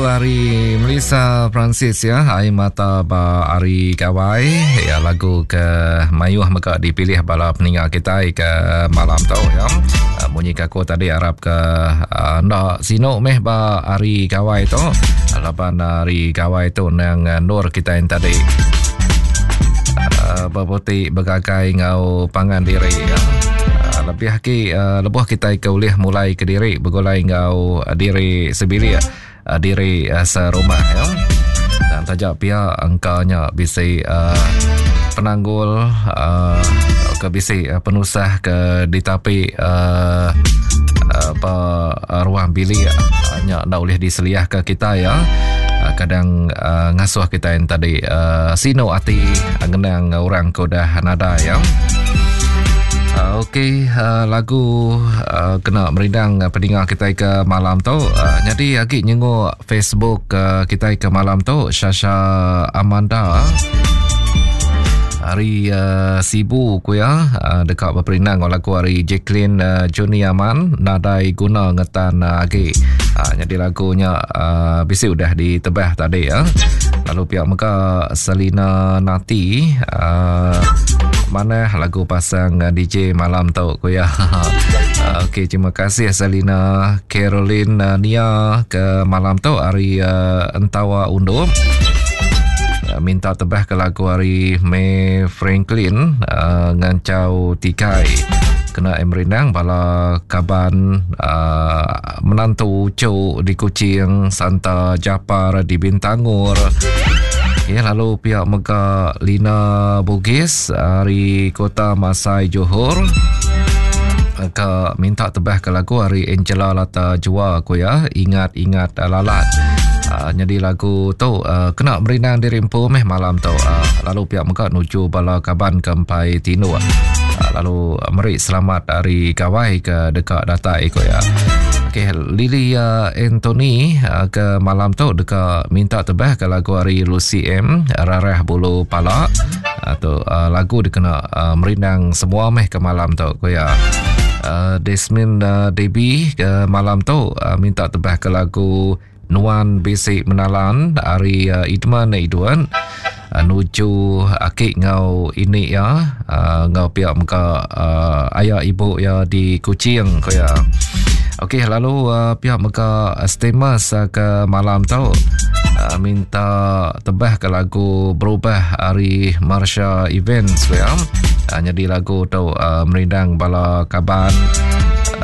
Ari Melissa Francis ya, Ai Mata ba Ari Gawai ya lagu ke mayuh mega dipilih bala peninga kitai ke malam tu ya. Ah, munyi ke aku tadi arap ke ah, enda sinu meh ba Ari Gawai tu laban Ari Gawai tu nang endur kitai tadi ah, bebuti begagai enggau pangan diri ya. Lebih agi lebuh kitai ke ulih mulai ke diri begulai enggau diri sebilik diri serumah ya. Dan taja pia engka nya bisi uh, penanggul uh, ke bisi uh, penusah ke ditapi uh, uh, ba ruang bilik uh, nya enda ulih diseliahka kita ya. Uh, kadang uh, ngasuh kita yang tadi uh, sinu ati ngenang orang ke udah nadai ya. Uh, Okey, uh, lagu uh, kena merindang peninga kita ke malam tu. Uh, jadi agi nyenguk Facebook uh, kita ke malam tu Shasha Amanda hari uh, Sibu ku ya uh, deka beperindang ngau lagu hari Jacqueline uh, Juni Aman nadai guna ngetan uh, agi. Uh, jadi lagunya uh, bisi udah ditebah tadi ya. Lalu pihak mega Selina Nati uh, manah lagu pasang DJ malam tu ku ya. Okey terima kasih Selina Caroline uh, Nia ke malam tu hari uh, Entawa Undup. Uh, minta tebah ke lagu hari May Franklin uh, ngancau tikai kena merindang bala kaban uh, menantu Cuk di Kuching, Santa Japar di Bintangor. Ya, lalu pihak mega Lina Bugis dari Kota Masai Johor ke minta tebah ke lagu hari Angela Lata Jua aku ya ingat-ingat lalat uh, jadi lagu tu uh, kena merindang diri empu meh malam tu uh, lalu pihak mega nuju bala kaban ke empai tinduk uh, lalu meri selamat hari gawai ke deka datai ko ya. Okey, Lily uh, Anthony uh, ke malam tu deka minta tebah ke lagu hari Lucy M Rarah Bulu Pala atau uh, lagu dikena uh, merindang semua meh ke malam tu ko ya. Uh, Desmond uh, Debbie ke malam tu uh, minta tebah ke lagu Nuan bisi menalan ari uh, Idman Idwan uh, nuju aki ngau ini ya uh, ngau pihak muka uh, ayah ibu ya di Kuching ko ya. Okey lalu uh, pihak muka Stemas uh, ke malam tu uh, minta tebah ke lagu berubah ari Marsha Events ko ya. Uh, jadi lagu tu uh, merindang bala kaban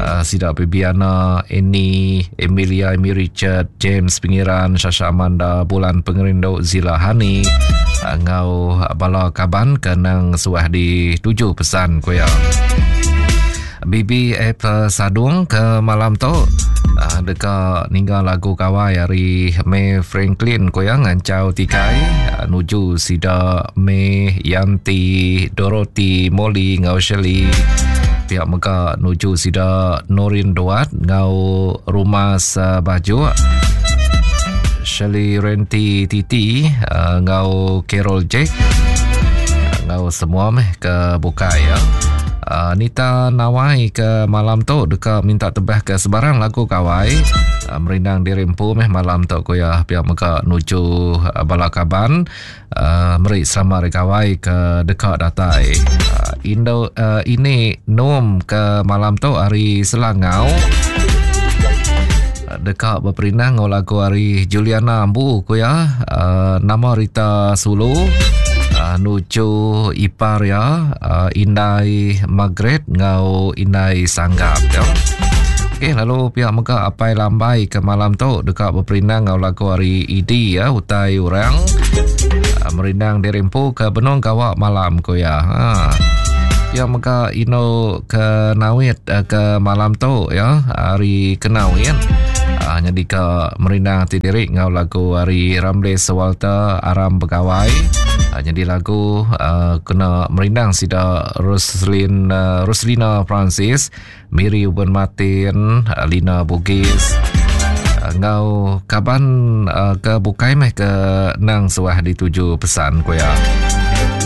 uh, sida Bibiana Annie Emilia Amy Richard, James Pengiran, Shasha Amanda, Bulan Pengerindu, Zila Hani, enggau bala kaban ke nang suah dituju pesan ku iya. BBF Sadung ke malam tu ah, deka ninggal lagu kawai hari May Franklin ku iya ngancau tikai ah, nuju sida May Yanti Dorothy Molly enggau Shirley Pia mega nuju sida Norin Duat enggau Rumas uh, Bajuk Shirley Renti Titi uh, enggau Carol Jack enggau semua meh ke bukai ya. Uh, Anita Nawai ke malam tu deka minta tebah ke sebarang lagu kawai uh, merindang diri empu meh malam tu ku ya pia mega nuju uh, bala kaban uh, meri selamat hari gawai ke deka datai. Uh, Indo uh, ini nom ke malam tu hari Selangau deka beperindang ngau lagu hari Juliana Ambu ku ya uh, nama Rita Sulu uh, nuju ipar ya uh, Indai Margaret ngau Indai Sanggap ya. Okey lalu pihak mega apai lambai ke malam tu deka beperindang ngau lagu hari ID ya utai orang uh, merindang diri empu ke benung gawa malam ku ya. Ha. Pihak mega ino ke nawit uh, ke malam tu ya hari kenawit uh, jadi ke merindang ati diri ngau lagu hari Ramles Walter Aram Begawai uh, jadi lagu uh, kena merindang sida Roslin uh, Roslina Francis Miri Uben Martin, Lina Bugis enggau kaban uh, ke bukai meh ke nang suah dituju pesan ku ya.